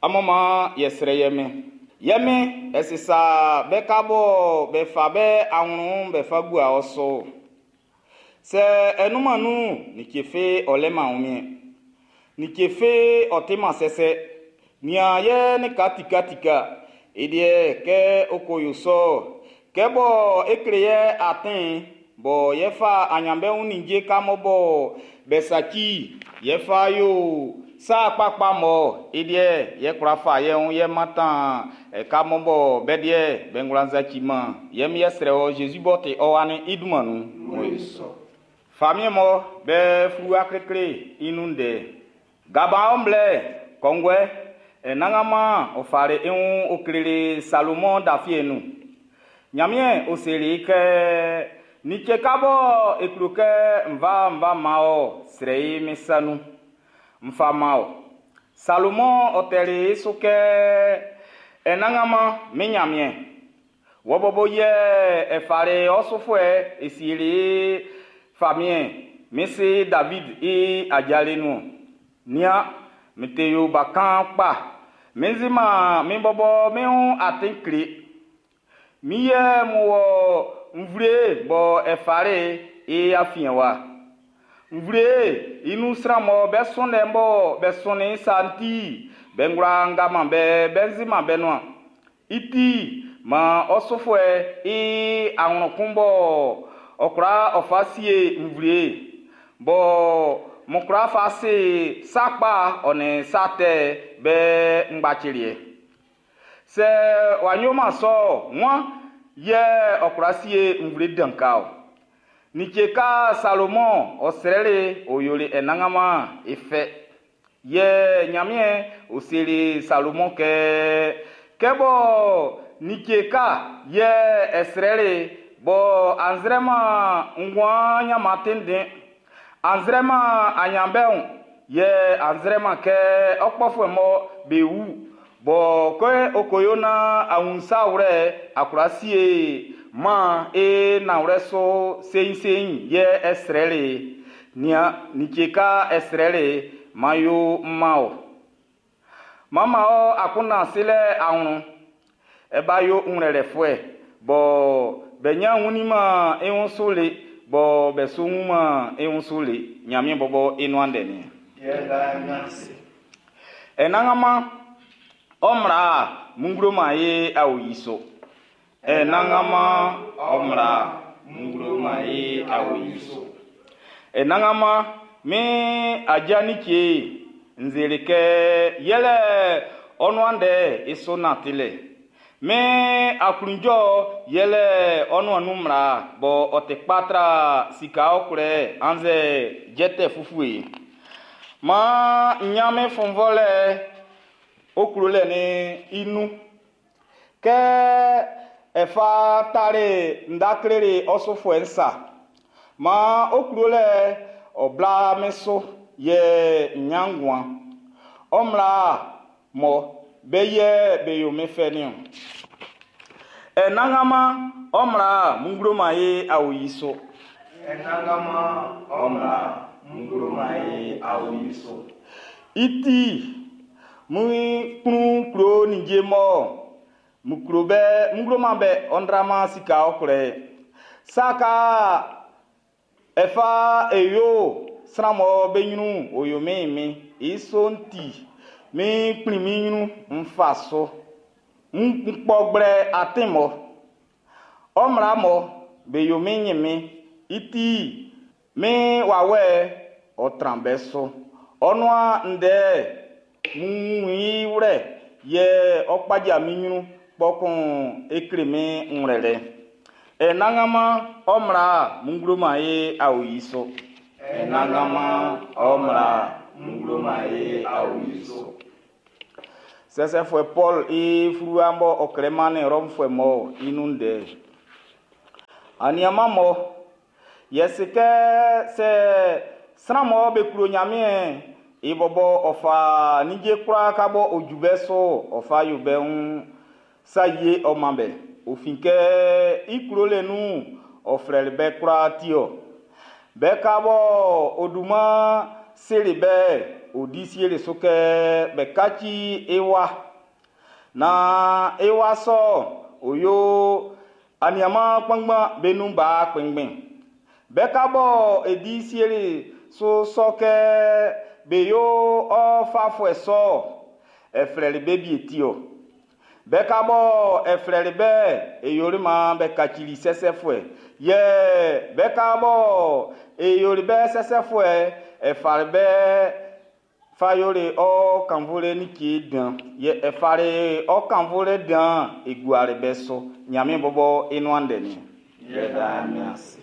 Amun man yɛ srɛ ye Min. Ye Min, e si sa be ka bɔ be fa be anwlɛn'n be fa gua ɔ su. Sɛ e nunman nun'n, like fi ɔ leman wunmiɛn. Like fi ɔ timan sɛsɛ. Nian ye lika tikatika. I liɛ kɛ ɔ ko yo sɔ, kɛ bɔ e kle ye atin bɔ ye fa aɲanbeun ninnge ka mɔ bɔ be saci ye fa yo sa kpakpa mɔ i liɛ ye kwla fa ye wun ye mantan e ka mɔ bɔ be liɛ be ngwlan saciman. Yɛ mi yɛ srɛ wɔ Zezi b'ɔ ti ɔ wa'n i dunman nun. Famiɛn mɔ be fluwa klikli i nun ndɛ. Gabaɔn blɛ kɔnguɛ, Anannganman ɔ fali i wun ɔ kleli Salomɔn dafie nun. Ɲanmiɛn ɔ seli i kɛ, Like ka bɔ e klo kɛ n fa man ɔ, srɛ i min sa nun, n fa man ɔ. Salomɔn ɔ tɛli i su kɛ, Anannganman min Ɲanmiɛn, wɔ bɔbɔ yɛ e fali ɔ sufuɛ e sieli i famiɛn min si David i ajalɛ nun. Nian, min te yo bakan kpa. Min siman min bɔbɔ min wun atin kle. Min yɛ n wɔ nvle bɔ e fali i afiɛn wa. Nvle i nun sran mɔ be sɔnnin bɔ be sɔnnin sa'n ti, be ngwla nga man be, be nziman be nuan. I ti, man ɔ sufuɛ i anwlɛn kun bɔ ɔ kwla ɔ fa sie nvle bɔ mo kwla fa se sa kpa ɔ nin sa tɛ be ngbaciliɛ. Sɛ w'a yoman sɔ, wan yɛ ɔ kwla sie nvle dan ka ɔ? Like ka Salomɔn ɔ srɛli ɔ yoli Anannganman i fɛ. Yɛ Ɲanmiɛn ɔ seli Salomɔn kɛ, kɛ bɔ like ka yɛ ɛ srɛli bɔ anzrɛman nguan ɲanman tenden, anzrɛman aɲanbɛn yɛ anzrɛman kɛ ɔkpɔfuɛ mɔ be wu bɔ kɛ okoyo na awunsa wlɛ akwla sie man e nanwlɛ so seinsein'n yɛ ɛ srɛli nian like ka ɛ srɛli man yo mma o. Mama ɔ akunna silɛ anwlɛn ɛ ba yo ŋlɛlɛfuɛ bɔ be nya wunniman i wun su le bɔ be su wunman i wun su le Ɲanmiɛn bɔbɔ i nuan ndɛ nin. Anannganman ɔ mmla mun ye awo yi so. Anannganman ɔ mmla mun ye awo yi so. Anannganman min aja ni tie nzele kɛ yɛlɛ ɔ nuan ndɛ i so nantilɛ. Min aklunjɔ yɛlɛ ɔ nuan nun mmla bɔ ɔ ti kpa tra sika ɔkwlɛ annzɛ jɛtɛ fufue. Maan n ɲan min fɔnvɔlɛ oklolɛ ni i nun. Kɛ ɛfa tare nda kleli ɔsufuɛ nsa. Maan oklolɛ ɔ bla min so yɛ n ɲan nguan. Ɔ mmla mɔ be yɛ be yo min fɛ niɔn. Anannganman ɔ mmla mun man ye awo yi so. Anannganman ɔ mmla mun man ye awo yi so. I ti, mun kplun klo ninnge mɔ mun klo bɛ mun man bɛ ɔndrama sika ɔkwlɛ. Saka ɛfa eyo sran mɔ be ɲrun oyo min min i so ti min kplin min ɲrun n fa so. N kpɔ gblɛ atin mɔ ɔ mmla mɔ be yo min ɲin min i ti min wawɛ ɔ tran bɛ so. Ɔ nuan ndɛ mun i wlɛ yɛ ɔ kpaja min ɲrun kpɔkun e kle min ŋlɛlɛ. Anannganman ɔ mmla mun man ye awo yi so. Anannganman ɔ mmla mun man ye awo yi so. Sɛsɛfuɛ Paul i fluwa bɔ ɔ klɛ mannin Rɔmfuɛ mɔ i nun ndɛ. Aniaman mɔ yɛ se kɛ sɛ sran mɔ be klo Ɲanmiɛn i bɔbɔ ɔ fa ninnge kwlaa ka bɔ o ju bɛ so ɔ fa yo bɛ wun sa yie ɔ man bɛ. O fin kɛ i klolɛ nun ɔ flɛli bɛ kwlaa ti ɔ. Bɛ ka bɔ o dunman seli be'n, ɔ di sieli su kɛ be kaci i wa, naan i wa sɔ'n ɔ yo aniaan kpanngban be nun ba kpɛnngbɛn. Be ka bɔ e di sieli su sɔ kɛ be yo ɔ fafuɛ sɔ'n, e flɛli be wie ti-ɔ. Be ka bɔ e flɛli be'n, e yoli man be kacili sɛsɛfuɛ, yɛ be ka bɔ e yoli be sɛsɛfuɛ'n, e fali be fa yoli ɔ kannvunlɛ like dan, yɛ e fali ɔ kannvunlɛ dan'n e guali be su. Nyanmiɛn bɔbɔ i nuan ndɛ nin. Yɛda Nyanmiɛn ase.